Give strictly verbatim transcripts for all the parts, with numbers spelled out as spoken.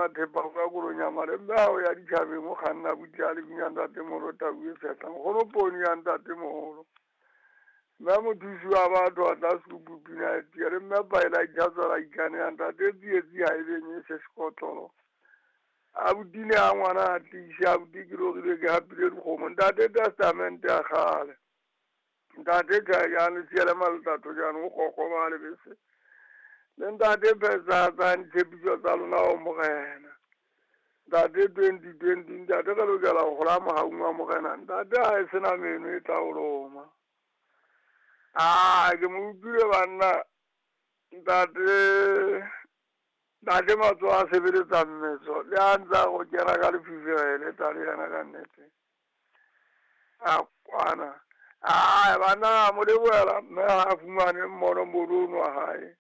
Thepa ka kolonyama le mme hao ya ditjhabeng o kganna butle a le binya ntate moholo tau e fehlang kgono poone ya ntate moholo. Mme mothusi wa batho a tla sekupu pina e tia le mme paela ithatswela ikane ya ntate tsietsi ha e benye se sekotlolo. Abuti ne a ngwana a tiise abuti ke lorile ke hapile dikgomo ntate testamente ya kgale. Ntate Tjhajane siele maletato jaanong o qoqoba lebese. Le ntate phethahatsang ditshepiso tsa lona ho morena. Ntate twenty twenty ntate re lokela ho hola mohaung wa morena. Ntate ha e sena meno e tla o loma. Ah, ke mo utlwile banna. Ntate ntate matsoho a sebeletsa mmetso le a ntsa go kena ka lefifi le tla le yena ka nnete. A kwana. Ah, banna mo lebohela mme ha fumane mmono mono wa hae.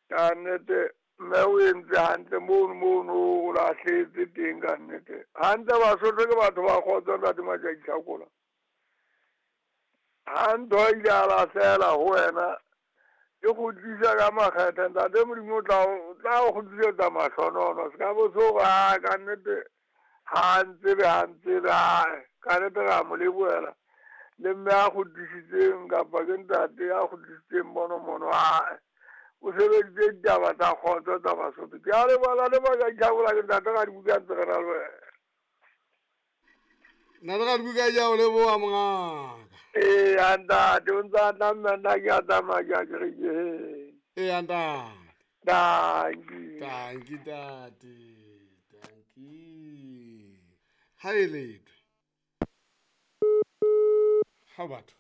Ka nnete mme o entse hantle mono mono o lahletse teng ka nnete. Hantle Basotho ke batho ba kgotso ntate Matjaki Hlakola. Ha ntho e ile a lahlela ho wena e kgutlisa ka makgethe ntate Modimo o tla o tla o kgutlisetsa mahlonono se ka bo so ha ka nnete ha ntsebe ha ntsebe ka nnete ra mo lebohela le mme a kgutlisitseng kapa ke ntate a kgutlisitseng mono mono a o sebeditse ditaba tsa kgotso tsa Basotho. Ke a leboha le Matjaki Hlakola ke ntate ka dibuka ntse re na le wena. Nna le ka dibuka ja o leboha mongaka. Ee, ntate o ntse a tla mme nna ke a tsamaya ke ya kerekeng. Ee, ntate. Dankie. Dankie ntate. Dankie. Ha e letho. Ha batho.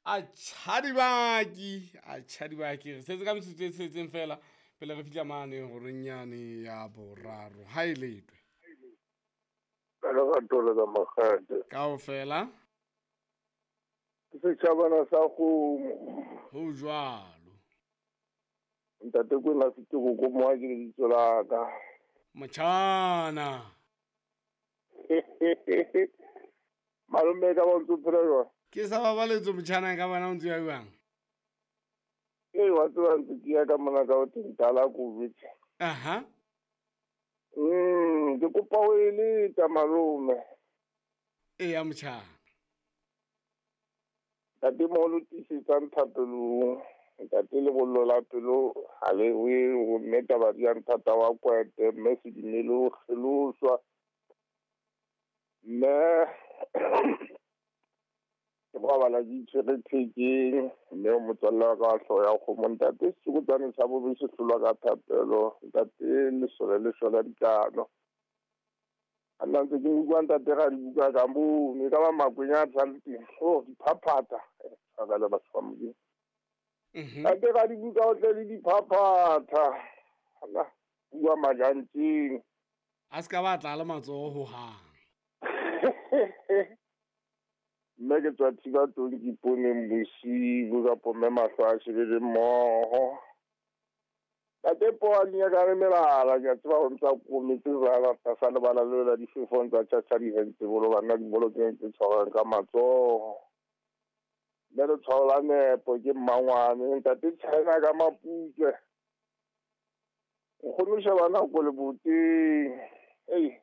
A tjhadibaki, a tjhadibaki. Re setse ka metsotso e tsheletseng fela pele re fihla mane horeng yane ya boraro. Ha e letho. Ka lerato le ka makgethe. Kaofela. Ke setjhabana sa kgomo. Ho jwalo. Ntate Kwena Setoko ko moa ke lebitso la ka. Motjhana. Malome ka ba o ntso phela jwang? Ke sa babaletso motjhana ka bona o ntse ya jwang? Ee, wa tseba ntse ke ya ka mona ka o teng tala COVID. Aha. Mm, ke kopa o eleta malome. Eya motjhana. Ntate moholo tiisetsang thapelong. Ntate lebollo la pelo ha le we ho mme taba di ya nthata wa kwete mme sedumele o kgeloswa. Mme ke robala ke itshwere thekeng mme o motswalle wa ka wa hlooho ya kgomo ntate setsokotsane sa bobe se hlolwa ka thapelo ntate lesole le hlola dikano. A nna ntse ke utlwa ntate ra dibuka ka mono e ka ba makwenya a tshang teng oh diphaphatha tshwarelo batho ba Modimo. Ntate ra dibuka o tle le diphaphatha ala bua majantseng a se ka ba tla le matsoho hohang. Mme ke tswa thiba tong ke iponeng bosibu kapo mme mahlo a shebele mmoho. Ntate poane ya ka re melala ke a tseba ho ntsa kometse jwala tlasa lebala leo la difefong tsa tjhatjha dihentse bolo banna dibolo tse tse tshwarwang ka matsoho. Mme letshwao la nepo ke mmangwane ntate China ka maputswe. Nkgono sheba nako leboteng. Ei.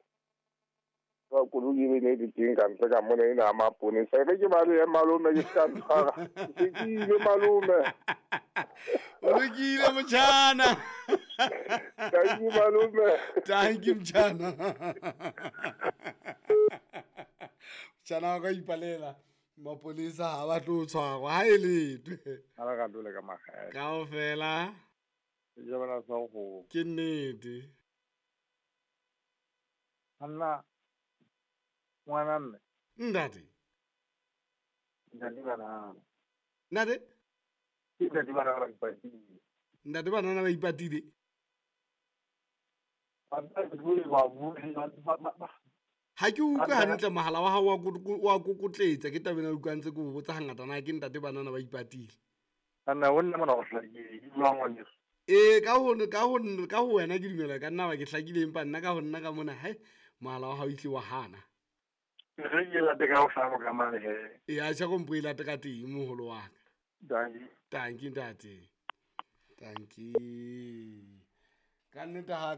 Ba koloi e ne le teng ka ntle ka mona ena ya maponesa. E re ke balehe malome ke ska ntshwara. Ke se ke ile malome. O lokile motjhana. Thank you malome. Thank you motjhana. Motjhana wa ka ipalela mapolesa ha ba tlo tshwarwa ha e letho. Ha ba ka dule ka makgethe. Kaofela. Setjhabana sa kgomo. Ke nnete. Hanna ngwana mme. Ntate. Ntate banana. Ntate? Ke ntate banana ba ipatile. Ntate banana ba ipatile. Ha ke utlwe hantle mohala wa hao wa wa kokotletsa ke tabeng ya utlwa ntse ke o botsa hangata na ke ntate banana ba ipatile. Ana ho nna mona go hlakile ke jwang ngwaneso? Ee, ka ho ka ho ka ho wena ke dumela ka nna ba ke hlakile empa nna ka ho nna ka mona hai mohala wa hao ihle wa hana. Re ke late ka ho hlano ka mane he. Ee, a tjha kompo e late ka teng moholo wa ka. Dankie. Dankie ntate. Dankie. Ka nnete ha